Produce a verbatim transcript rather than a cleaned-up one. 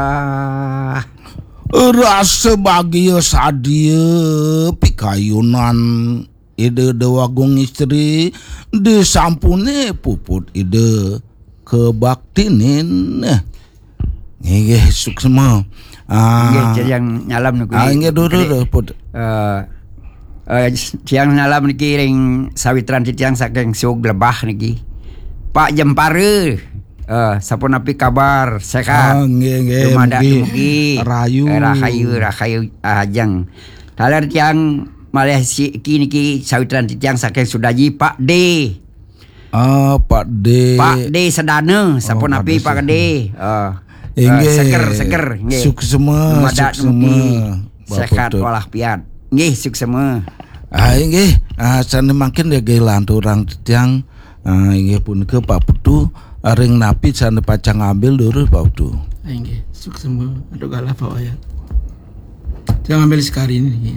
Ah, rasa bagia sadia pikayunan Ida Dewagung Istri disampune puput Ida kebaktinin. Inggih, suksma. Ah, Inggih, Cang Nyalam niki. Ah, inggih, dulu, dulu, put. Eh, eh, Cang Nyalam niki ring sawitran titiang saking Sug Lebah niki. Pak Jempara. Eh, sapunapi kabar? Sehat? Ah, nggih, nggih, Dumadak mugi dumugi. rahayu. Eh, rahayu, rahayu, ah, Ajeng. Taler tiang malih siki niki sawitran titiang saking Sudaji, Pak D. Ah, Pak D. Pak D Sedana, sapunapi Pak D Pak D. Ah. Inggih. Eh, seger, seger, nggih. Suksema, Dumadak suksema, dumugi. Bapak Sehat Tut. walafiat. Nggih, suksema. Ah, inggih. Ah, sane mangkin nggih lanturang titiang. Ah, inggih punika Pak Putu, ah, ring napi sane pacang ngambil durus Pak Putu. Inggih, suksema, aduh galah Pak Wayan. Saya ngambil sekali ini.